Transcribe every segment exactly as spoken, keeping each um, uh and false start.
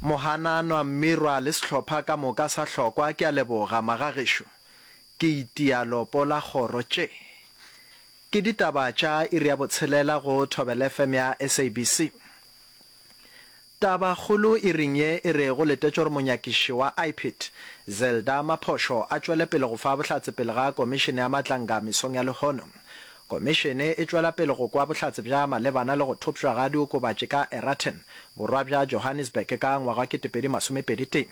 Mohananwa, Mmirwa le sehlopha ka moka sa Hlokwa, ke a leboga, magagešo. Ke itia lopo la kgoro. Tše ke ditaba tša iri ya botshelela go Thobela F M ya S A B C. Tabakgolo iring ye e re go letetšwe gore monyakiši wa I P I D, Zelda Maphosho, a tšwele pele go fa bohlatse pele ga Komišene ya Matlanga mesong ya lehono. Komišene e tšwela pele go kwa bohlatse bja malebana le go thopšwa ga diokobatši ka Eraton, borwa bja Johannesburg ka ngwaga wa ketepedi masomepedi tee.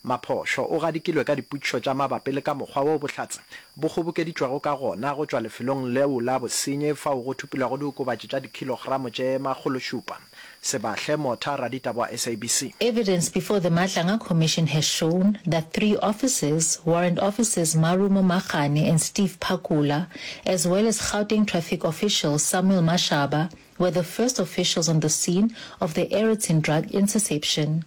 Maphosho o gadikilwe ka dipotšišo tša mabapi le ka mokgwa woo bohlatse bo kgobokeditšwego ka gona go tšwa lefelong leo la bosenyi fao go thopilwego diokobatši tša dikhilogramo tše makgološupa. Sebahle Motha, raditaba wa S A B C. Evidence before the Madlanga Commission has shown that three officers, Warrant Officers Marumo Magane and Steve Phakula, as well as Gauteng traffic official Samuel Mashaba, were the first officials on the scene of the Aeroton drug interception.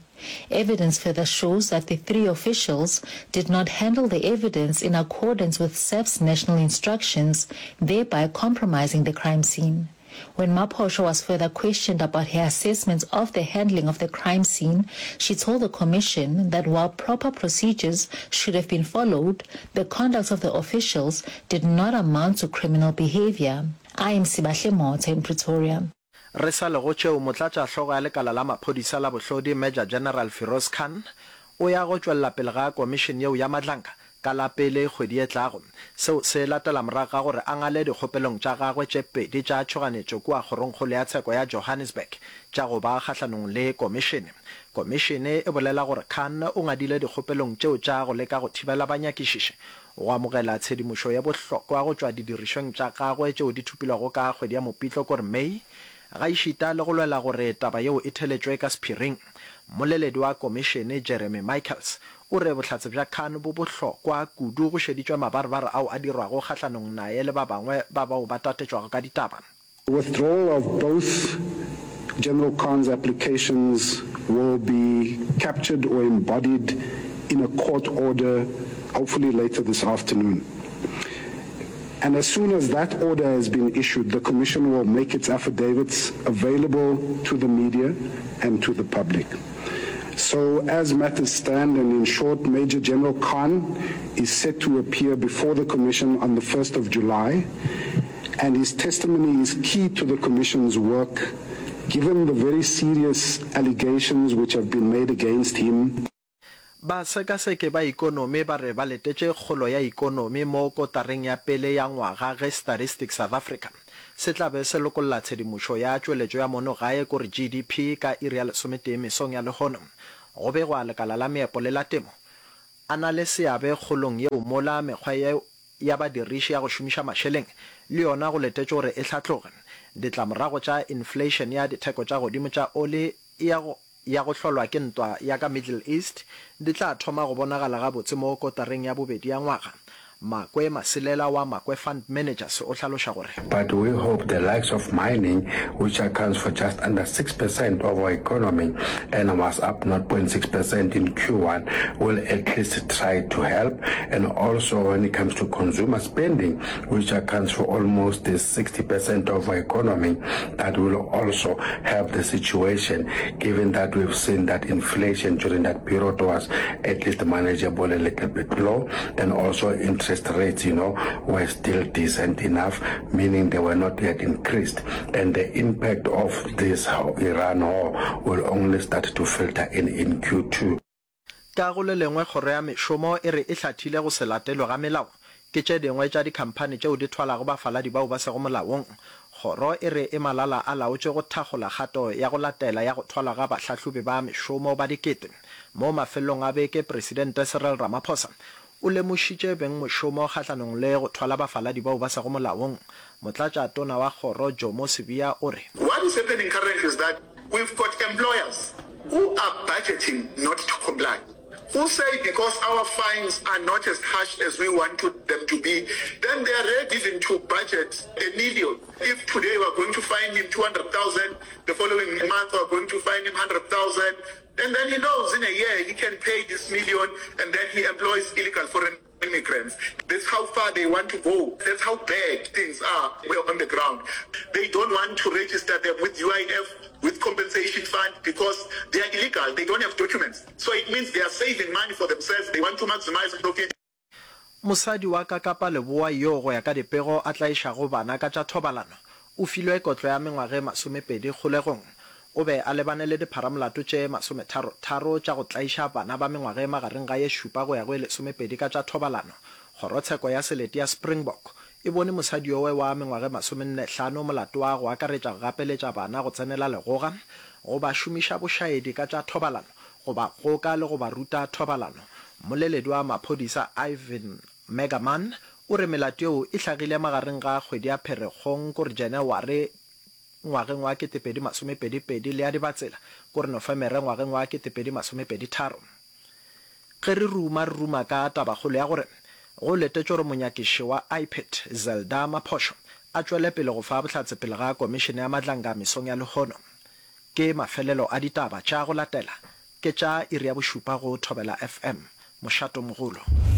Evidence further shows that the three officials did not handle the evidence in accordance with S A P's national instructions, thereby compromising the crime scene. When Maphosho was further questioned about her assessment of the handling of the crime scene, she told the commission that while proper procedures should have been followed, the conduct of the officials did not amount to criminal behavior. I am Sibahle Motha in Pretoria. Re sa le go tšeo, motlatšahlogo ya lekala la maphodisa la bohlodi Major General Firoz Khan o ya go tšwelela pele ga komišene yeo ya Madlanga ka la pele kgwedi e tlago. Seo se latela morago ga gore a ngale dikgopelong tša gagwe tše pedi tša tšhoganetšo kua kgorongkgolo ya tsheko ya Johannesburg tša go ba kgahlanong le komišene. Komišene e bolela gore Khan o ngadile dikgopelong tšeo tša go leka go thibela banyakišiši go amogela tshedimošo ye bohlokwa go tšwa didirišweng tša gagwe tšeo di thopilwego ka kgwedi ya Mopitlo kore May, gaešita le go lwela gore taba yeo e theletšwe ka sephiring. Mmoleledi wa komišene Jeremy Michaels o re bohlatse bja Khan bo bohlokwa kudu go šeditšwe mabarebare ao a dirwago kgahlanong naye le ba bangwe ba bao ba tatetšwago ka ditaba. The withdrawal of both General Khan's applications will be captured or embodied in a court order, hopefully later this afternoon. And as soon as that order has been issued, the Commission will make its affidavits available to the media and to the public. So as matters stand, and in short, Major General Khan is set to appear before the Commission on the first of July, and his testimony is key to the Commission's work, given the very serious allegations which have been made against him. Basekaseki ba ikonomi ba re ba letetše kgolo ya ikonomi mo kotareng ya pele ya ngwaga ge Statistics South Africa se tla be se lokolla tshedimošo ya tšweletšo ya mono gae kore G D P ka iri ya lesometee mesong ya lehono. Go begwa lekala la meepo le la temo a na le seabe kgolong yeo mola mekgwa ye ya badiriši ya go šomiša mašeleng le yona go letetšwe gore e hlatloge. Ditlamorago tša inflation ya ditheko tša godimo tša oli ya go ya go hlolwa ke ntwa ya ka Middle East di tla thoma go bonagala gabotse mo kotareng ya bobedi ya ngwaga. Makwe Masilela wa Makwe Fund Managers o hlaloša gore. But we hope the likes of mining, which accounts for just under six percent of our economy and was up nought point six percent in Q one, will at least try to help. And also when it comes to consumer spending, which accounts for almost sixty percent of our economy, that will also help the situation, given that we've seen that inflation during that period was at least manageable, a little bit low, and also interest rates, you know, were still decent enough, meaning they were not yet increased. And the impact of this Iran war will only start to filter in, in Q two. Ka go le lengwe, kgoro ya mešomo e re e hlathile go se latelwe ga melao ke tše dingwe tša dikhamphani tšeo di thwalago bafaladi bao ba sego molaong. Kgoro e re e malala a laotšwe go thakgola kgato ya go latela ya go thwalwa ga bahlahlobi ba mešomo ba dikete. Mo mafelelong a beke, Presidente Cyril Ramaphosa o lemošitše bengmošomo kgahlanong le go thwala bafaladi bao ba sego molaong. Motlatšatona wa kgoro Jomo Sibiya o re. What is happening currently is that we've got employers who are budgeting not to comply, who say because our fines are not as harsh as we want to them to be, then they are ready even to budget a million. If today we are going to fine him two hundred thousand, the following month we are going to fine him hundred thousand, and then he knows in a year he can pay this million, and then he employs illegal foreign Immigrants. That's how far they want to go. That's how bad things are on the ground. They don't want to register them with U I F, with compensation fund, because they are illegal. They don't have documents. So it means they are saving money for themselves. They want to maximize profit. Mosadi wa ka Kapa Leboa yoo go ya ka dipego a tlaišago bana ka tša thobalano o filwe kotlo ya mengwaga e masomepedi kgolegong. O be a lebane le dipharamolato tše masometharo-tharo tša go tlaiša bana ba mengwaga e magareng ga ye šupa go ya go e lesomepedi ka tša thobalano. Kgorotsheko ya Selete ya Springbok e bone mosadi yowe wa mengwaga e masomenne-hlano molato wa go akaretša go gapeletša bana go tsenela legoga, go ba šomiša bošaedi ka tša thobalano, go ba goka le go ba ruta thobalano. Mmoleledi wa maphodisa Ivan Megaman o re melato yeo e hlagile magareng ga kgwedi ya Pherekgong kore Janaware ngwageng wa ketepedi masomepedi pedi le ya Dibatsela kore Nofemere ngwageng wa ketepedi masomepedi tharo. Ge re ruma re ruma ka tabakgolo ya gore go letetšwe gore monyakiši wa I P I D Zelda Maphosho a tšwele pele go fa bohlatse pele ga komišene ya Madlanga mesong ya lehono. Ke mafelelo a ditaba tša go latela ke tša iri ya bošupa go Thobela F M, mošatomogolo.